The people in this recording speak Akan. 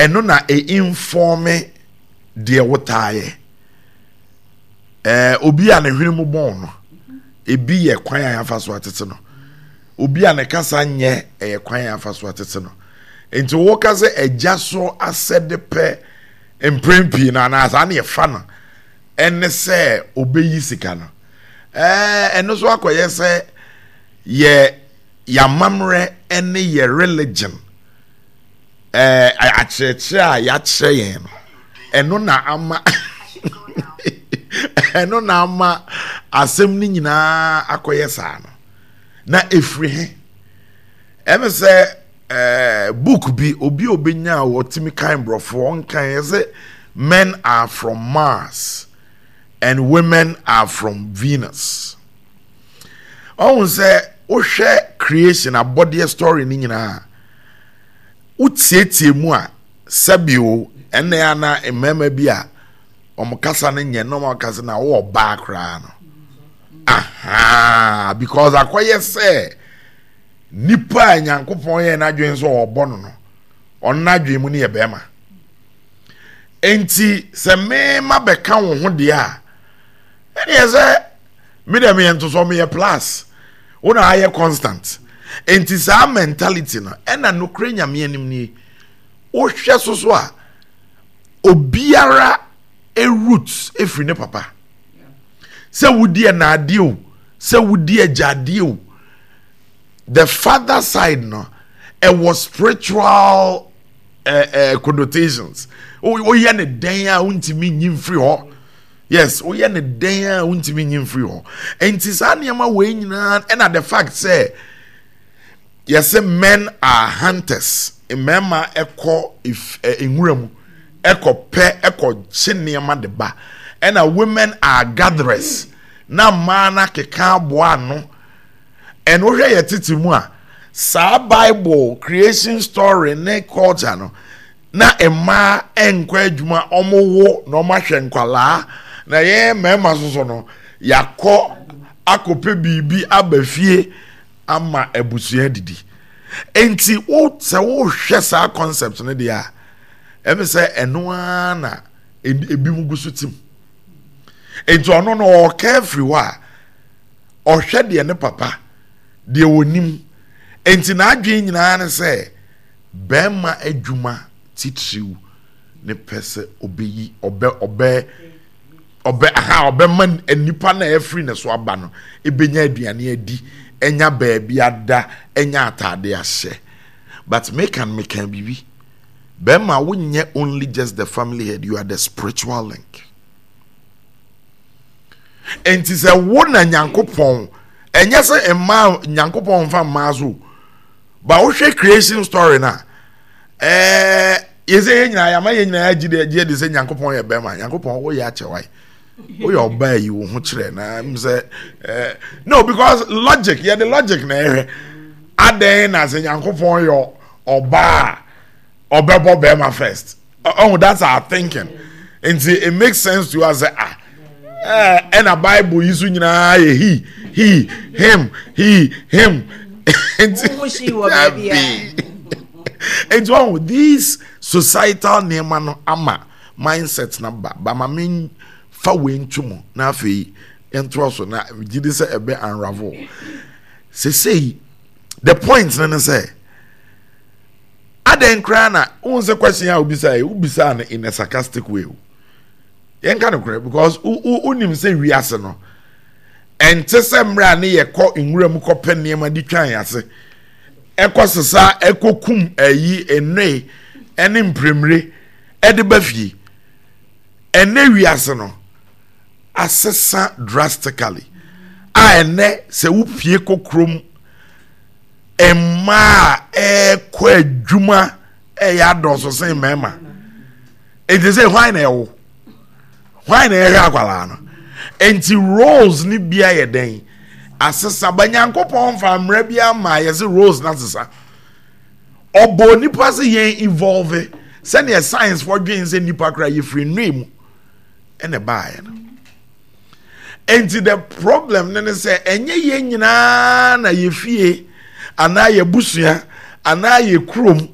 Ɛno na e informe deɛ wotaa yɛ. Ɛɛ obi a ne hwene mu bɔn no, ebi yɛ kwan a yɛafa so atete no. Obi a ne kasa nyɛ ɛyɛ kwan a yɛafa so atete no. Nti woka sɛ agya so asɛde pɛ mprɛn pii no anaa saa ne yɛfa no ɛne sɛ obeyi sika no. Ɛɛ ɛno so akɔyɛ sɛ yɛ yɛamammerɛ ne yɛ religion ɛɛ akyerɛkyerɛ a yɛakyerɛ yɛn no ɛno na ama ɛno na ama asɛm no nyinaa akɔyɛ saa no na ɛfiri he ɛne sɛ ɛɛ book bi obi a obenya a wɔtumi kan borɔfo ɔnkan yɛ sɛ men are from Mars and women are from Venus ɔhun sɛ wohwɛ creation abɔdeɛ story no nyinaa Wotietie mu a, sɛbi o, ɛnna a na mmarima bi a wɔn kasa no nyɛ na wɔn kasa na wɔwɔ ɔbaa koraa no. Aha, because akɔyɛ sɛ nipa a Nyankopɔn yɛ n'adwene sɛ ɔbɔ no no, ɔno n'adwene mu no yɛ bɛrima. Enti sɛ mema bɛka wo ho deɛ a, ɛneɛ sɛ me deɛ meyɛ ntosɔ meyɛ plus wo na ayɛ constant nti saa mentality no ɛna nokorɛ nyame anim nie wohwɛ so so a obiara root efiri ne papa sɛ wodi ɛnaadeɛ o sɛ wodi agyadeɛ o the father side no ɛwɔ spiritual uh, uh, connotations woyɛ ne dɛn a wontumi nyi mfiri hɔ Yes, woyɛ ne dɛn a wontumi nyi mfiri hɔ. Nti saa nneɛma wei nyinaa ɛna the fact sɛ yɛsɛ men are hunters, mmarima ɛkɔ nwura mu ɛkɔ pɛ ɛkɔ kye nneɛma de ba, ɛna women are gatherers na mmaa no akeka aboa ano. Ɛna wohwɛ yɛ tete mu a saa Bible creation story ne culture no na mmaa nkɔ adwuma wɔn wo na wɔn ahwɛ nkwadaa na yɛn mmarima soso no yakɔ akɔpɛ biribi aba fie ama abusua didi nti wo sɛ wohwɛ saa concept no deɛ a ɛmi sɛ ɛno ara na ebi mu gu so tim nti ɔno no ɔɔka afiri hɔ a ɔhwɛ deɛ ne papa deɛ onim nti n'adwene nyinaa ne sɛ. Barima adwuma titiriw ne pɛ sɛ ɔbɛyi ɔbɛ ɔbɛ ɔbɛ aha ɔbɛma nnipa na ɛfiri ne so aba no ebenya aduane adi anya baabi ada anya ataade ahyɛ but meka no meka biribi bɛrima wonyɛ only just the family head you are the spiritual link nti sɛ wo na nyankopɔn ɛnyɛ sɛ mmaa nyankopɔn mfa mmaa so ba wohwɛ creation story no a ɛɛ yɛsɛ yɛn nyinaa yɛama yɛn nyinaa gye de gye de sɛ nyankopɔn yɛ bɛrima nyankopɔn woyɛ akyɛ wae woyɛ ɔbaa yi wo ho kyerɛ na m sɛ ɛɛ no because logic yɛde logic na ɛhwɛ adɛn na sɛ nyankopɔn yɛ ɔbaa ɔbɛbɔ bɛrima first oh that's our thinking nti it makes sense to us ah ɛna eh, bible yi so nyinaa yɛ he he him he him nti nti ɔho these societal nneɛma no ama mindset na ba ba ma me fa wei nto mu na afei ntoa so na gye di sɛ ɛbɛ unravel sesei the point no ne sɛ. Adɛn koraa na wohu sɛ question a wobisa yi wobisaa no in a sarcastic way o yɛnka no korɛ because wonim sɛ wiase no ɛnte sɛ mmerɛ a ne yɛkɔ nwura mu kɔpɛ nneɛma de twan ase ɛkɔ sesa ɛkɔ kum ayi nnoe ɛne mpremire ɛde ba fie ɛnɛ wiase no asesa drastically a ɛnɛ sɛ wopie kɔ kurom mmaa a ɛrekɔ adwuma ɛyɛ adɔɔso sen mmarima nti sɛ hwan na ɛwo hwan na ɛhwɛ akwadaa no nti roles ne bia yɛ dɛn asesa ba nyankopɔn nfa mmerɛ bi ama yɛsɛ roles na asesa ɔbɔ nipa sɛ yɛn evolve sɛdeɛ science fɔ dwen sɛ nipa kora yɛfiri nnoe mu ɛna ɛbaeɛ no Enti the problem ne ne sɛ ɛnyɛ yɛn nyinaa na yɛ fie anaa yɛ busua anaa yɛ kurom